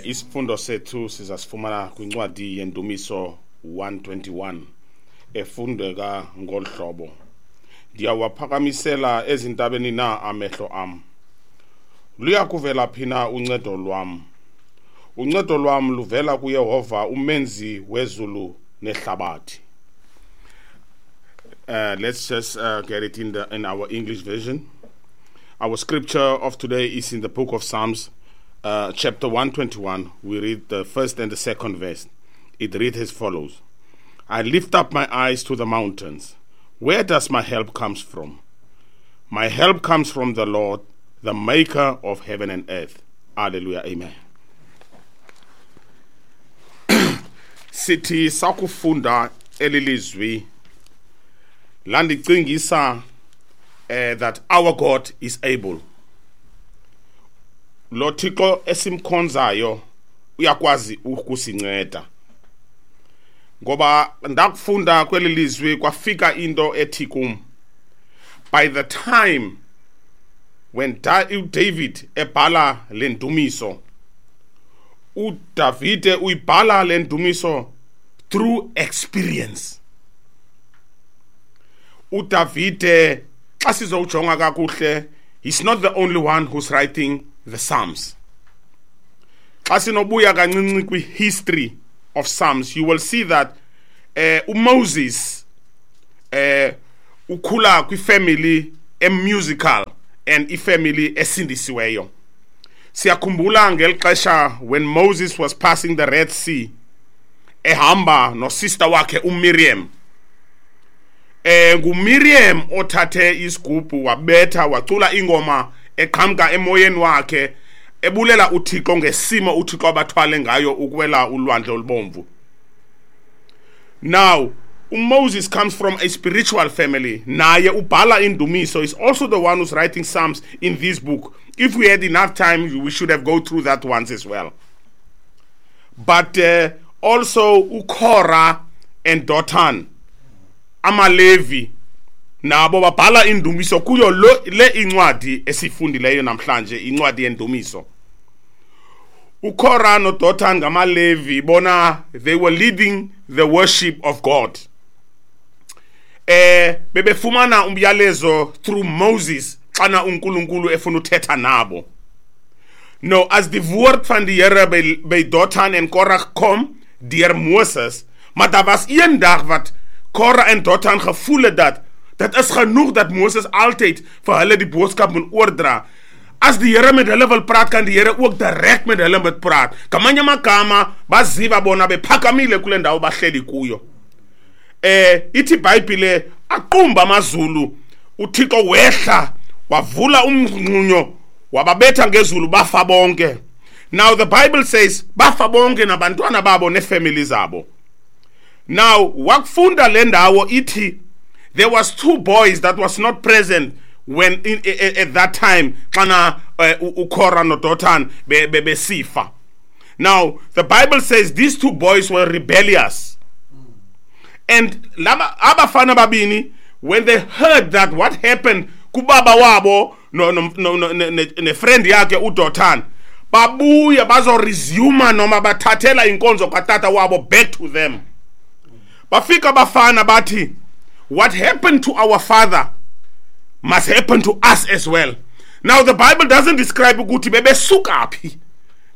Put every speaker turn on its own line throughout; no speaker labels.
Isifundo sethu sizasifumana kwincwadi yendumiso 121 efundeka ngolu hlobo. Ndiyawaphakamisela ezintabeni na amehlo am. Luya kuvela phi na uncedo lwam? Uncedo lwam luvela kuYehova umenzi wezulu nehlabathi. Let's just get it in our English version. Our scripture of today is in the book of Psalms, chapter 121. We read the first and the second verse. It reads as follows. I lift up my eyes to the mountains. Where does my help comes from? My help comes from the Lord, the maker of heaven and earth. Hallelujah. Amen. Sithi sakufunda elilizwi landicingisa that our God is able. Lo Thixo esimkhonzayo uyakwazi ukusinceda. Ngoba ndakufunda kweli lizwi kwafika into ethi kum. By the time when uDavid ebhala le ndumiso, uDavide uyibhala le ndumiso through experience. uDavide xa sizowujonga kakuhle, he's not the only one who's writing the Psalms. Xa sinobuya kancinci kwi-history of Psalms, you will see that uMoses ukhula kwifamily emusical and ifamily esindisiweyo. Siyakhumbula ngeli xesha when Moses was passing the Red Sea, ehamba nosister wakhe uMiriam. NguMiriam othathe isigubhu wabetha wacula ingoma eqhamka emoyeni wakhe ebulela uThixo ngesimo uThixo abathwale ngayo ukwela ulwandle olubomvu. Now uMoses comes from a spiritual family. Naye ubhala indumiso, is also the one who's writing Psalms in this book. If we had enough time, we should have go through that ones as well. But also uKora and Dotan, amaLevi, nabo babhala indumiso kuyo le incwadi esifundileyo namhlanje, incwadi yendumiso. uKora noDotan ngamaLevi, bona they were leading the worship of God. Bebefumana umyalezo through Moses xana uNkulunkulu efuna uthetha nabo. Nou as die woord van die Here by Dothan en Korah kom deur Moses, maar daar was een dag wat Korah en Dothan gevoel het dat dit is genoeg dat Moses altyd vir hulle die boodskap moet oordra. As die Here met hulle wil praat, kan die Here ook direk met hulle moet praat. Ngamanye amagama baziva bona bephakamile kule ndawo bahleli kuyo. Ithi iBhayibhile aqumba amazulu, uThixo wehla wavula umnqunyo wababetha ngezulu bafa bonke. Now the Bible says bafa bonke nabantwana babo nefamily zabo. Now wakufunda le ndawo ithi there was two boys that was not present when at that time xana uKora noDothan besifa. Now the Bible says these two boys were rebellious. And laba abafana babini, when they heard that what happened kubaba wabo no no no ne friend yakhe uDothan, babuya bazo resume noma bathathela inkonzo katata wabo back to them. Bafika bafana bathi, what happened to our father must happen to us as well. Now the Bible doesn't describe ukuthi bebesuka phi.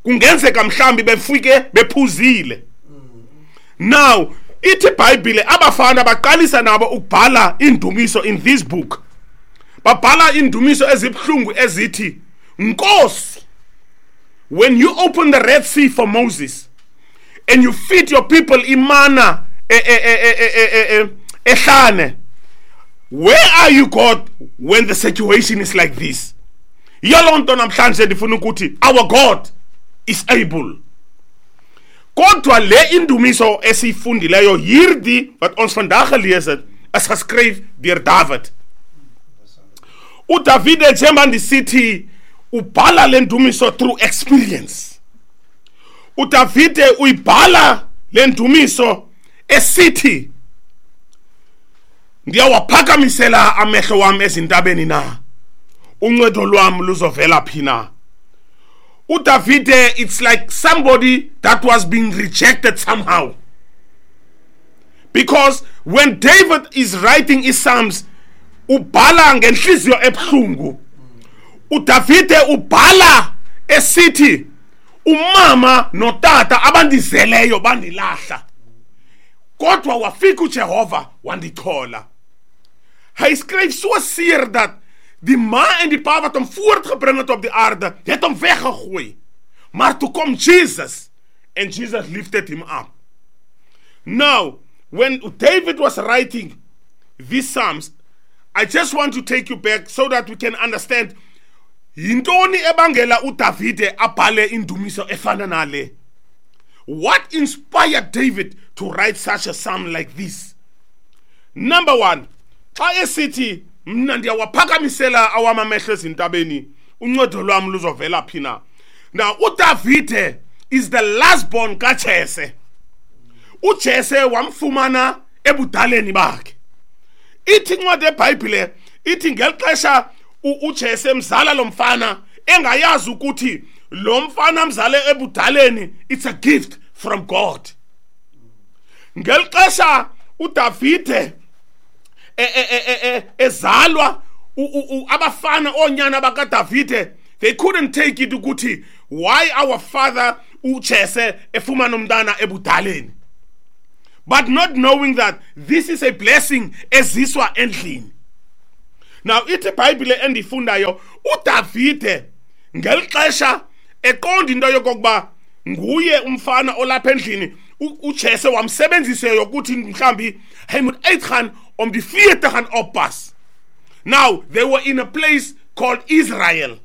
Kungenzeka mhlambi befike bephuzile. Now ithi iBhayibhile abafana baqalisa nabo ukubhala indumiso in this book. Babhala indumiso ezibhlungu ezithi, Nkosi, when you open the Red Sea for Moses and you feed your people imana ehlane, where are you, God, when the situation is like this? Yiloo nto namhlanje ndifuna ukuthi our God is able. Kodwa le indumiso esiyifundileyo hierdie wat ons vandag gelees het, is geskryf deur David. uDavide njengoba ndisithi ubhala le ndumiso through experience. uDavide uyibhala le ndumiso esithi ndiyawaphakamisela amehlo wami ezintabeni na, uncedo lwami luzovela phi na. uDavide, it's like somebody that was being rejected somehow. Because when David is writing his Psalms, ubhala ngenhliziyo ebuhlungu. uDavide ubhala esithi umama notata abandizeleyo bandilahla, kodwa wafika uJehova wandichola. Hy skryf so seer dat die ma en die pa wat hom voortgebring het op die aarde, het hom weggegooi. Maar toe kom Jesus and Jesus lifted him up. Now, when David was writing these Psalms, I just want to take you back so that we can understand yintoni ebangela uDavide abhale indumiso efana nale. What inspired David to write such a psalm like this? Number one, xa esithi mna ndiyawaphakamisela awam amehlo ezintabeni, uncedo lwam luzovela phi na? Now, uDavide is the last born kaJese. uJese wamfumana ebudaleni bakhe. Ithi incwadi yeBhayibhile ithi ngeli xesha uJese mzala lo mfana engayazi ukuthi lo mfana mzale ebudaleni, it's a gift from God. Ngeli xesha uDavide ezalwa, abafana oonyana bakaDavide, they couldn't take it ukuthi why our father uJese efumana umntana ebudaleni, but not knowing that this is a blessing eziswa endlini. Now, ithi iBhayibhile endifundayo, uDavide ngeli xesha eqonda into yokokuba nguye umfana olapha endlini, uJese wamsebenzisa yokuthi mhlambi hy moet uitgaan om die vee te gaan oppas. Now, they were in a place called Israel.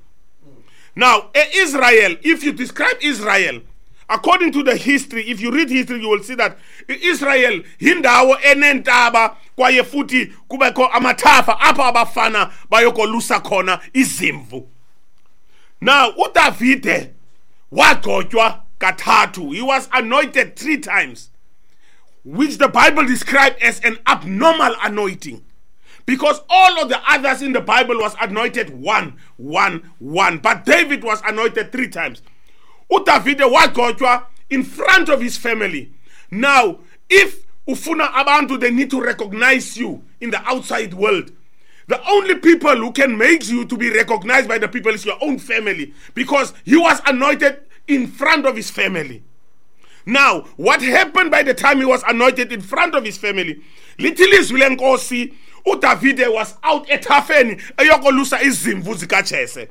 Now, Israel, if you describe Israel, according to the history, if you read history, you will see that Israel yindawo enentaba kwaye futhi kubekho amathafa apho abafana bayokolusa khona izimvu. Now, uDavide wagcotywa kathathu. He was anointed 3 times, which the Bible described as an abnormal anointing, because all of the others in the Bible was anointed 1, 1, 1, but David was anointed 3 times. uDavide wagcotywa in front of his family. Now, if ufuna abantu, they need to recognize you in the outside world. The only people who can make you to be recognized by the people is your own family, because he was anointed in front of his family. Now, what happened by the time he was anointed in front of his family? Lithi ilizwi lenkosi, uDavide was out ethafeni eyokolusa izimvu zikaJese.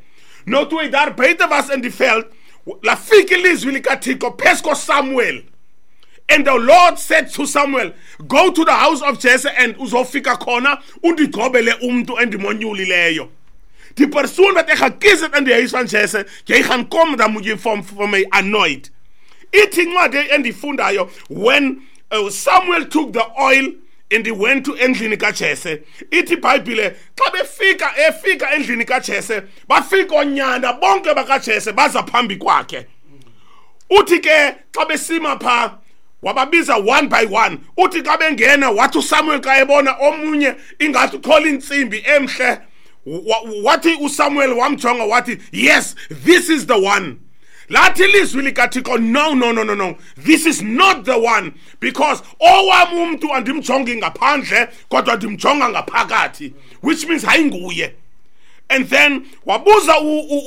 Nou toe hy daar buite was in die veld, lafika ilizwi likaThixo phezu koSamuel. And the Lord said to Samuel, go to the house of Jesse and uzofika khona undigcobele umntu endimonyulileyo. Die persoon wat ek gekies het in die huis van Jesse, jy gaan kom, dan moet jy vir my anoint. Ithi incwadi endifundayo, when Samuel took the oil and he went to endlini kaJese, ithi iBhayibhile xa befika efika endlini kaJese, bafika oonyana bonke bakaJese baza phambi kwakhe. Uthi ke xa besima pha, wababiza one by one. Uthi xa bengena, wathi uSamuel xa ebona omunye ingathi uthola intsimbi emhle, wathi uSamuel wamjonga wathi, yes, this is the one. Lathi ilizwi likaThixo, no, no, no, no, no, this is not the one, because owam umntu andimjongi ngaphandle kodwa ndimjonga ngaphakathi, which means ayinguye. And then wabuza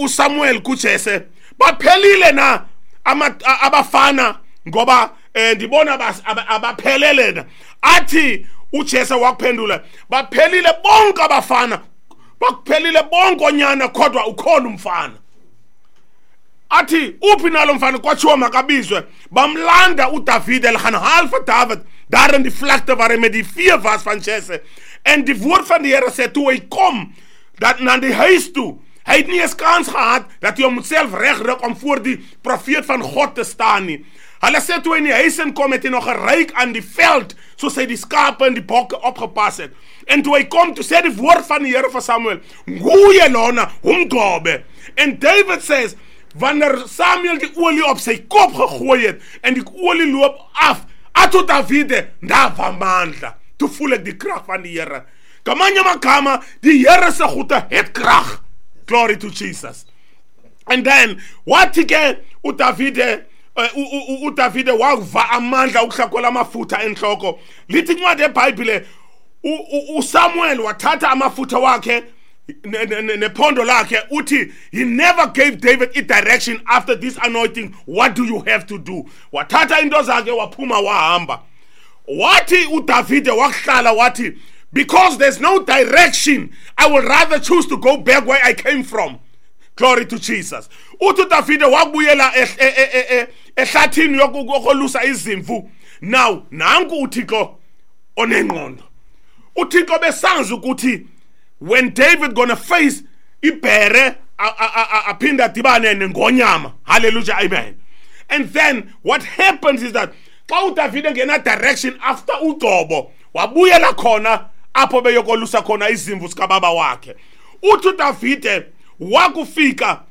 uSamuel kuJese, baphelile na abafana ngoba ndibona abaphelele na? Athi uJese wakuphendula, baphelile bonke abafana, bakuphelile bonke onyana, kodwa ukhona umfana. Athi uphi nalo mfana? Kwatshiwo makabizwe. Bamlanda uDavide, hulle gaan haal vir David daar in die vlakte waar hy met die vee was van Jesse. En die woord van die Here sê toe hy kom dat na die huis toe, hy het nie eens kans gehad dat hy homself regruk om voor die profeet van God te staan nie. Hulle sê toe hy in die huis inkom, het hy nog geruik aan die veld soos hy die skape en die bokke opgepas het. En toe hy kom, toe sê die woord van die Here vir Samuel, nguye lona umgcobe. En David says, wanneer Samuel die olie op sy kop gegooi het en die olie loop af, athi uDavide, ndava amandla. Toe voel ek die krag van die Here. Ngamanye amagama, die Here se goede het krag. Glory to Jesus. And then wathi ke uDavide, uDavide wakuva amandla ukuhlakola amafutha enhloko. Lithi incwadi yeBhayibhile, uSamuel wathatha amafutha wakhe nephondo lakhe. Uthi he never gave David a direction after this anointing. What do you have to do? Wathatha into zakhe, waphuma, wahamba. Wathi uDavide wakuhlala, wathi, "Because there's no direction, I will rather choose to go back where I came from." Glory to Jesus. Uthi uDavide wakubuyela ehlathini yokolusa izimvu. Now nanku uThixo onengqondo. UThixo besazi ukuthi when David gonna face ibhere, aphinda adibane nengonyama. Hallelujah, amen. And then what happens is that xa uDavide ngena direction after ugcobo, wabuyela khona apho beyokolusa khona izimvu zikababa wakhe. Uthi uDavide wakufika,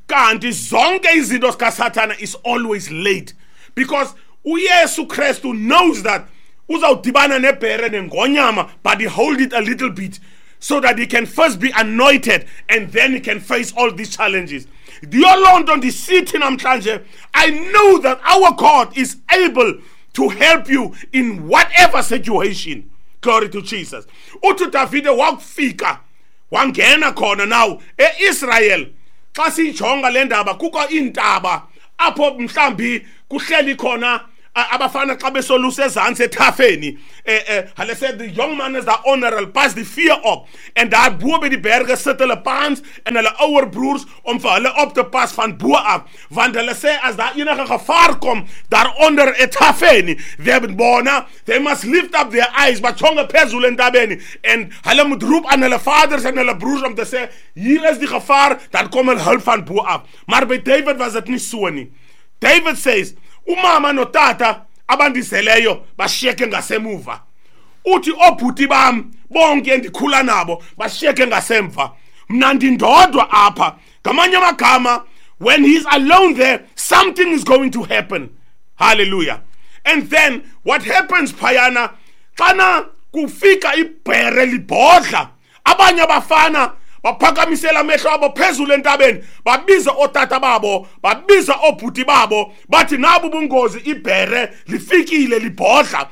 kanti zonke izinto zikaSathana is always late, because uYesu Kristu knows that uzawudibana nebhere nengonyama, but he hold it a little bit so that he can first be anointed and then he can face all these challenges. Yiyo loo nto ndisithi namhlanje, I know that our God is able to help you in whatever situation. Glory to Jesus. Uthi uDavide wakufika, wangena khona. Now eIsrael, xa siyijonga le ndaba, kukho iintaba apho mhlambi kuhleli khona abafana xa besolusa ezantsi ethafeni. Hulle sê die jong man is daar onder, hulle pas die vee op, en daar bo by die berge sit hulle paans en hulle ouer broers om vir hulle op te pas van bo af, want hulle sê as daar enige gevaar kom daaronder ethafeni, bona they must lift up their eyes, bajonge phezulu entabeni, en hulle moet roep aan hulle vaders en hulle broers om te sê hier is die gevaar, dan kom hulle hulp van bo af. Maar by David was dit nie so nie. David says, umama notata abandizeleyo bashiyeke ngasemuva. Uthi obhuti bam bonke endikhula nabo bashiyeke ngasemva, mna ndindodwa apha. Ngamanye amagama, when he's alone there, something is going to happen. Hallelujah. And then what happens phayana, xana kufika ibhere libhodla, abanye abafana baphakamisela amehlo abo phezulu entabeni, babiza otata babo, babiza obhuti babo, bathi nabu ubungozi, ibhere lifikile libhodla.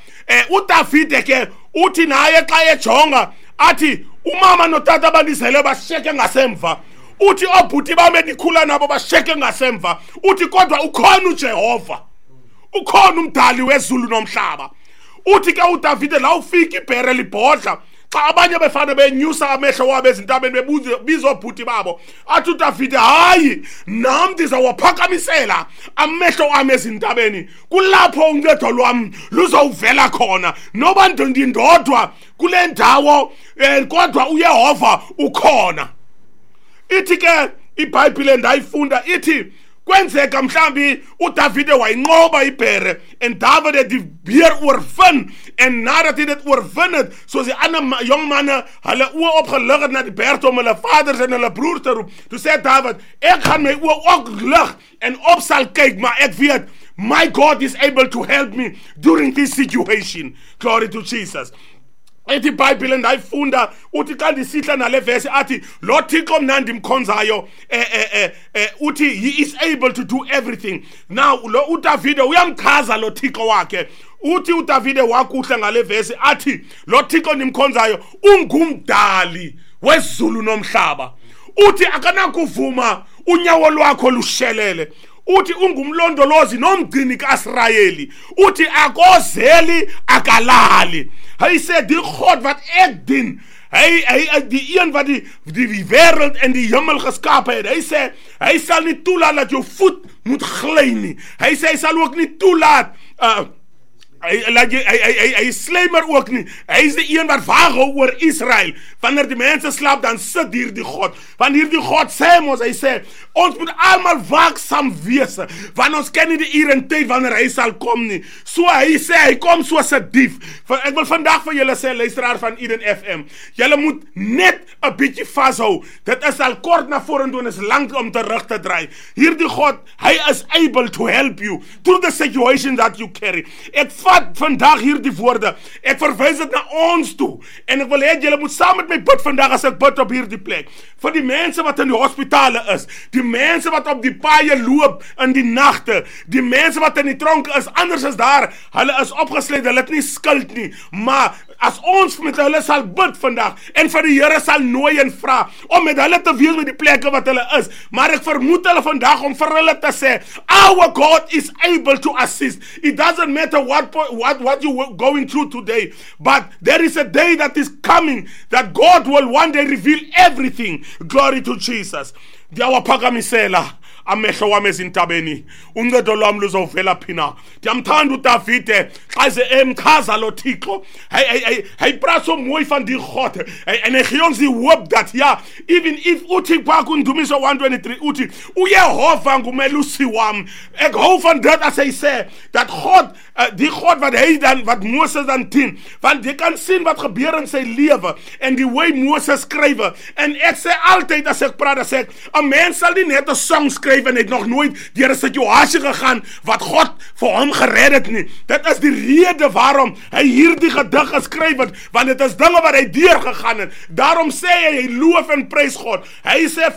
UDavide ke uthi naye xa ejonga athi umama notata abandizele bashiyeke ngasemva, uthi obhuti bam endikhula nabo bashiyeke ngasemva, uthi kodwa ukhona uJehova, ukhona umdali wezulu nomhlaba. Uthi ke uDavide la ufika ibhere libhodla, xa abanye befana benyusa amehlo wabo ezintabeni bebiza obhuti babo, athi uDavide hayi, nam ndizawaphakamisela amehlo am ezintabeni, kulapho uncedo lwam luzawuvela khona. Noba ndindodwa kule ndawo, kodwa uYehova ukhona. Ithi ke iBhayibhile ndayifunda, ithi kwenzeka mhlambi uDavide wayinqoba ibhere, en David het die beer oorwin, en nadat hy dit oorwin het, soos die ander jong manne hulle oë opgelig het na die berg om hulle vaders en hulle broers te roep, toe sê David, ek gaan my oë ook lig en op sal kyk, maar ek weet, my God is able to help me during this situation. Glory to Jesus. Ethi iBhayibhile ndayifunda, uthi xa ndisihla nale vesi, athi lo Thixo mna ndimkhonzayo, uthi he is able to do everything. Now lo uDavide uyamchaza lo Thixo wakhe. Uthi uDavide wakuhle ngale vesi, athi lo Thixo ndimkhonzayo ungumdali wezulu nomhlaba. Uthi akanakuvuma unyawo lwakho lushelele. Uthi ungumlondolozi nomgcini kaIsrayeli. Uthi akozeli akalali. Hy sê die God wat ek dien, hy die een wat die wêreld en die hemel geskaap het. Hy sê hy sal nie toelaat dat jou voet moet gly nie. Hy sê hy sal ook nie toelaat, hy laat jy, hy slymer ook nie. Hy is die een wat waag hou oor Israel. Wanneer die mense slaap, dan sit hierdie God. Want hierdie God sê mos, hy sê, ons moet almal waaksaam wees, want ons ken nie die uur en tyd wanneer hy sal kom nie. So hy sê, hy kom soos 'n dief. Ek wil vandag vir julle sê, luisteraar van Eden FM, julle moet net 'n bietjie vashou. Dit is al kort na vorentoe en is lank om terug te draai. Hierdie God, hy is able to help you through the situation that you carry. Ek vat vat vandag hierdie woorde. Ek verwys dit na ons toe. En ek wil hê julle moet saam met my bid vandag as ek bid op hierdie plek. Vir die mense wat in die hospitale is, die mense wat op die paaie loop in die nagte, die mense wat in die tronke is, anders is daar, hulle is opgesluit, hulle het nie skuld nie. Maar as ons met hulle sal bid vandag en vir die Here sal nooi en vra om met hulle te wees by die plekke wat hulle is, maar ek vermoed hulle vandag om vir hulle te sê, our God is able to assist. It doesn't matter what you going through today, but there is a day that is coming that God will one day reveal everything. Glory to Jesus. Ndiyawaphakamisela amehlo wami ezintabeni, uncedo lwami luzovela phi na? Ndiyamthanda uDavide xa ze emchaza lo Thixo. Hy praat so mooi van die God. En hy gee ons die hoop dat ja, even if uthi pha kuNdumiso 123 uthi uYehova ngumelusi wam. Ek hou van dit as hy sê dat God, die God wat hy dan, wat Moses dan dien, want jy kan sien wat gebeur in sy lewe en die hoe Moses skrywe. En ek sê altyd as ek praat, dan sê ek, 'n mens sal nie net 'n song skryf en het nog nooit deur 'n situasie gegaan wat God vir hom gered het nie. Dit is die rede waarom hy hierdie gedig geskryf het, want dit is dinge wat hy deurgegaan het. Daarom sê hy, hy loof en prys God. Hy sê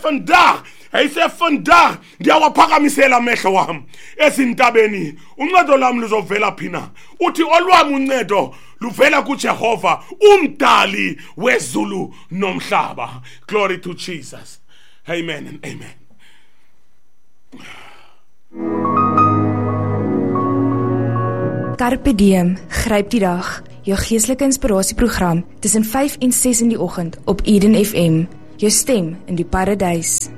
vandag, ndiyawaphakamisela amehlo wam ezintabeni, uncedo lwam luzovela phi na? Uthi olwam uncedo luvela kuJehova, umdali wezulu nomhlaba. Glory to Jesus. Amen and amen.
Carpe Diem, gryp die dag. Jou geestelike inspirasieprogram tussen 5 en 6 in die oggend op Eden FM. Jou stem in die paradys.